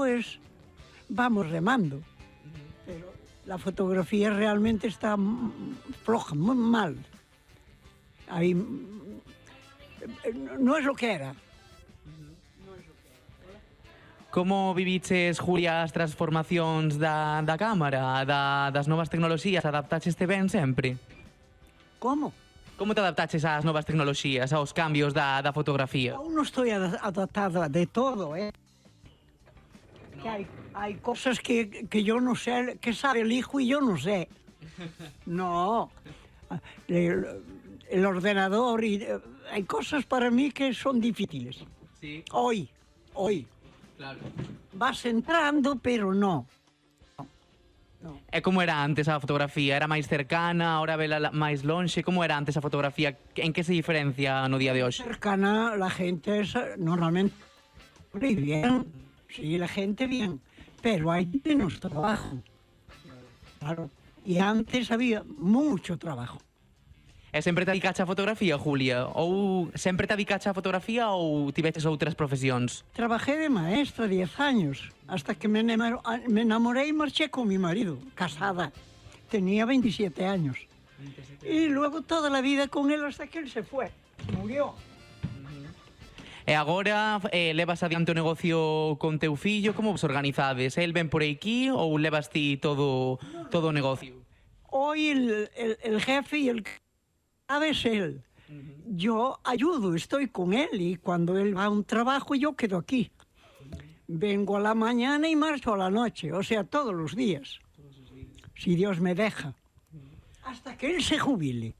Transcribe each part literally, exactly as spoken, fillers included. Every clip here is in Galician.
pues vamos remando. Pero la fotografía realmente está floja, muy mal. Ahí, no es lo que era. Como viviches, Julia, as transformacións da, da cámara, da, das novas tecnoloxías? Adaptaxeste ben sempre? Como? Como te adaptaches ás novas tecnoloxías, aos cambios da, da fotografía? Aún no estoy adaptada de todo, ¿eh? Que hay, hay cosas que, que yo no sé, que sabe el hijo y yo no sé. No. El, el ordenador y... Hay cosas para mí que son difíciles. Sí. Hoy, hoy. Claro. Vas entrando, pero no. No. E como era antes a fotografía? Era máis cercana, ahora vela máis lonxe? Como era antes a fotografía? En que se diferencia no día de hoxe? Cercana, la gente es normalmente bien. Sí, la gente bien. Pero hay menos trabajo. Claro. Y antes había mucho trabajo. E sempre te dedicache a fotografía, Julia? Ou sempre te dedicache a fotografía ou tiveches outras profesións? Trabajé de maestra diez años, hasta que me enamoré y marché con mi marido, casada. Tenía veintisiete años. Y luego toda la vida con él hasta que él se fue, murió. E agora eh, levas adiante o negocio con teu fillo? Como vos organizades? El ven por aquí ou levas ti todo, todo o negocio? Hoy el, el, el jefe y el... ¿Sabes él? Uh-huh. Yo ayudo, estoy con él y cuando él va a un trabajo yo quedo aquí. Uh-huh. Vengo a la mañana y marcho a la noche, o sea, todos los días. Todos los días. Si Dios me deja. Uh-huh. Hasta que él se jubile.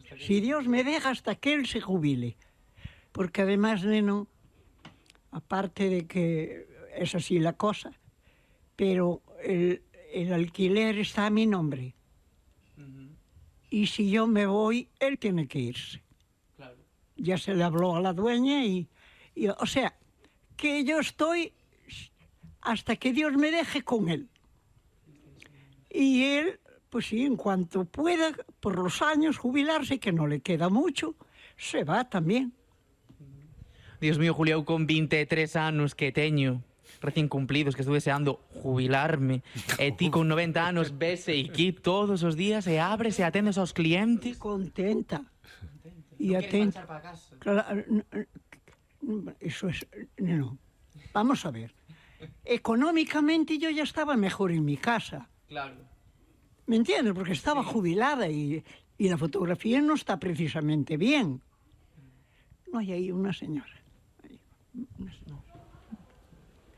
Que si Dios me deja hasta que él se jubile. Porque además, neno, aparte de que es así la cosa, pero el, el alquiler está a mi nombre. Y si yo me voy, él tiene que irse. Claro. Ya se le habló a la dueña y, y... O sea, que yo estoy hasta que Dios me deje con él. Y él, pues sí, en cuanto pueda, por los años, jubilarse, que no le queda mucho, se va también. Dios mío, Julia, eu con vinte e tres anos que teño, recién cumplidos, que estuve deseando jubilarme, e ti con noventa anos vese aquí todos os días e abres e atendes aos clientes. Contenta. Contenta. Y ¿No atenta. quieres marchar para casa? Claro, eso es... No. Vamos a ver. Económicamente yo ya estaba mejor en mi casa. Claro. ¿Me entiendes? Porque estaba sí. jubilada y, y la fotografía no está precisamente bien. No hay ahí una señora. Hay una señora.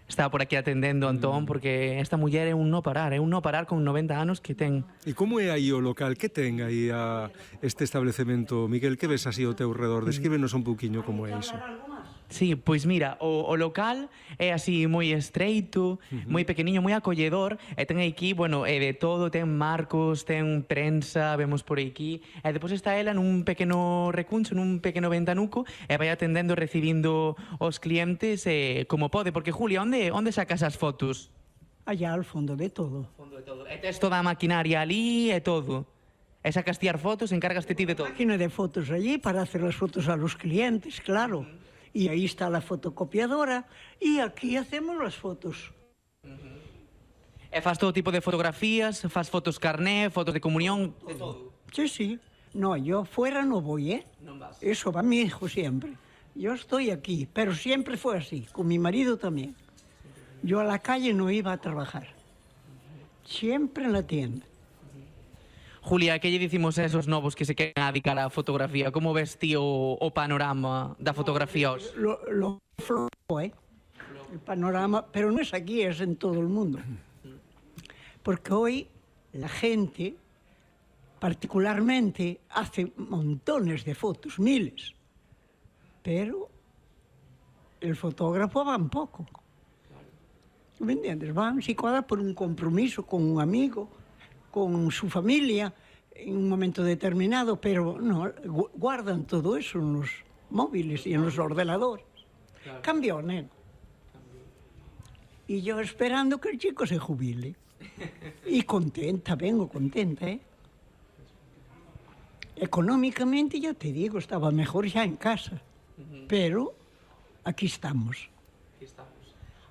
Estaba por aquí atendendo, Antón, porque esta muller é un no parar, é un no parar con noventa anos que ten. E como é aí o local? Que ten aí a este establecemento? Miguel, que ves así ao teu redor? Descríbenos un pouquiño como é iso. Sí, pois mira, o, o local é así moi estreito, uh-huh. moi pequeniño, moi acolledor, e ten aquí, bueno, é de todo, ten marcos, ten prensa, vemos por aquí, e depois está ela nun pequeno recuncho, nun pequeno ventanuco, e vai atendendo, recibindo os clientes eh, como pode, porque Julia, onde, onde sacas as fotos? Allá al fondo de todo. Fondo de todo. E tes toda a maquinaria ali e todo. E sacas ti as fotos, encárgaste ti de todo. Máquina de fotos allí para hacer las fotos a los clientes, claro. Uh-huh. Y ahí está la fotocopiadora y aquí hacemos las fotos. Uh-huh. E faz todo tipo de fotografías, faz fotos carné, fotos de comunión, de todo. Sí, sí. No, yo fuera no voy, ¿eh? No vas. Eso va mi hijo siempre. Yo estoy aquí, pero siempre fue así, con mi marido también. Yo a la calle no iba a trabajar. Siempre en la tienda. Julia, que lle dicimos a esos novos que se queren dedicar á fotografía? Como ves ti o, o panorama da fotografía hoxe? Lo, lo flojo, ¿eh? El panorama, pero no es aquí, es en todo el mundo. Porque hoy la gente, particularmente, hace montones de fotos, miles. Pero el fotógrafo va un poco. ¿Me entiendes? Van, si cuadra por un compromiso con un amigo, con su familia en un momento determinado, pero no, guardan todo eso en los móviles y en los ordenadores. Claro. Cambió, ¿no? Y yo esperando que el chico se jubile. Y contenta, vengo contenta, ¿eh? Económicamente, ya te digo, estaba mejor ya en casa. Uh-huh. Pero aquí estamos. Aquí estamos.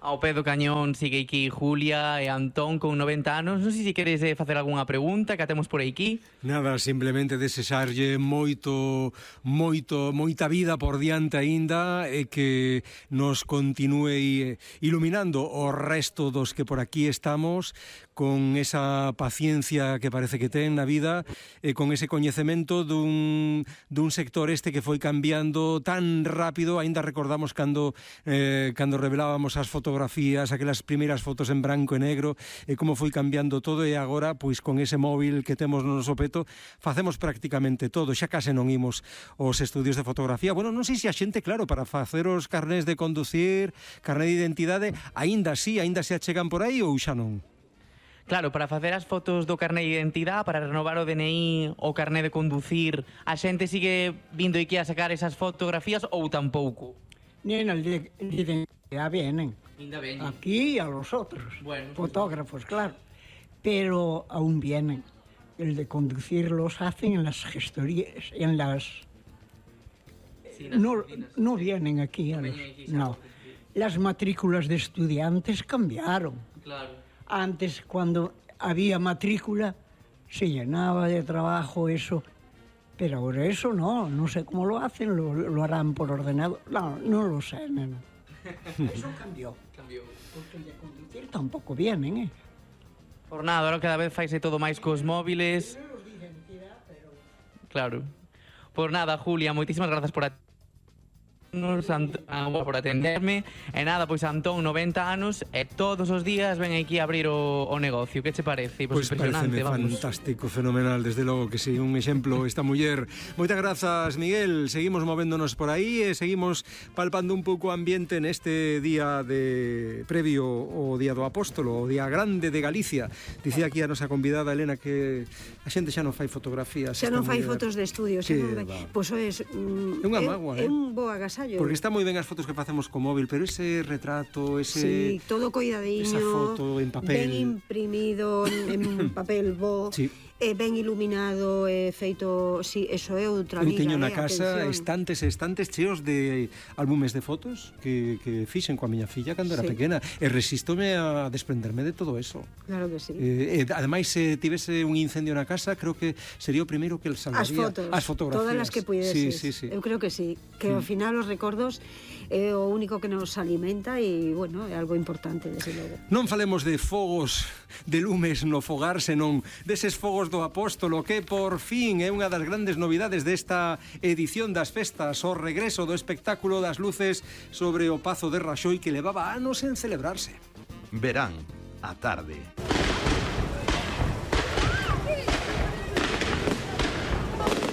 Ao pé do cañón sigue aquí Julia e Antón con noventa anos. Non sei se queres eh, facer algunha pregunta que temos por aquí. Nada, simplemente desexarlle moito, moito, moita vida por diante aínda e que nos continúe iluminando o resto dos que por aquí estamos con esa paciencia que parece que ten na vida e con ese coñecemento dun, dun sector este que foi cambiando tan rápido. Aínda recordamos cando, eh, cando revelábamos as fotografías, aquelas primeiras fotos en branco e negro, e como foi cambiando todo, e agora, pois con ese móvil que temos no noso peto, facemos prácticamente todo. Xa case non imos aos estudios de fotografía. Bueno, non sei se a xente, claro, para facer os carnés de conducir, carné de identidade, aínda así, aínda se achegan por aí ou xa non? Claro, para facer as fotos do carné de identidade, para renovar o D N I, o carné de conducir, a xente sigue vindo aquí a sacar esas fotografías ou tampouco? Nen, el de, de identidad vienen. Ainda veñen. Aquí y a los otros. Bueno, fotógrafos, claro. Pero aún vienen. El de conducir los hacen en las gestorías, en las... Sí, nas No, oficinas. no vienen aquí. a No los- veñen aquí, no. xa. Las matrículas de estudiantes cambiaron. Claro. Antes, cuando había matrícula, se llenaba de trabajo eso. Pero ahora eso no, no sé cómo lo hacen, lo, lo harán por ordenador. No, no lo sé, neno. Eso cambió. Cambiou. Porque el de conducir tampoco vienen, ¿eh? Por nada, ahora cada vez faise todo máis cos móviles. Claro. Por nada, Julia, moitísimas grazas por a... Nos, Ant- ah, por atenderme. E nada, pois Antón, noventa anos, e todos os días ven aquí a abrir o, o negocio. Que che parece? Pois Pois impresionante, pareceme vamos. fantástico, fenomenal, desde logo que sí, un exemplo esta muller. Moitas grazas, Miguel. Seguimos movéndonos por aí e seguimos palpando un pouco o ambiente neste día de previo o Día do Apóstolo, o Día Grande de Galicia. Dicía aquí a nosa convidada Elena que a xente xa non fai fotografías. Xa esta non fai muller. fotos de estudio, xa Que non vai. va. Pois é, mm, É unha é- mágoa, é eh? un bo agasallo. Porque está moi ben as fotos que facemos co móvil, pero ese retrato, ese... Sí, todo coidadiño, esa foto en papel. ben imprimido en papel bo, Sí. e ben iluminado, e feito, sí, eso é outra Eu vida, teño na eh, casa atención. estantes e estantes cheos de álbumes de fotos que, que fixen coa miña filla cando era Sí. pequena, e resistome a desprenderme de todo eso. Claro que sí. Eh, e ademais, se tivese un incendio na casa, creo que sería o primeiro que el As salvaría. fotos, As fotografías. todas as que puideses. Sí, sí, sí. Eu creo que sí, que ao final os recordos é o único que nos alimenta e, bueno, é algo importante, desde logo. Non falemos de fogos, de lumes no fogar, senón deses fogos do apóstolo que por fin é unha das grandes novidades desta edición das festas, o regreso do espectáculo das luces sobre o Pazo de Raxoi que levaba anos en celebrarse. Verán, a tarde.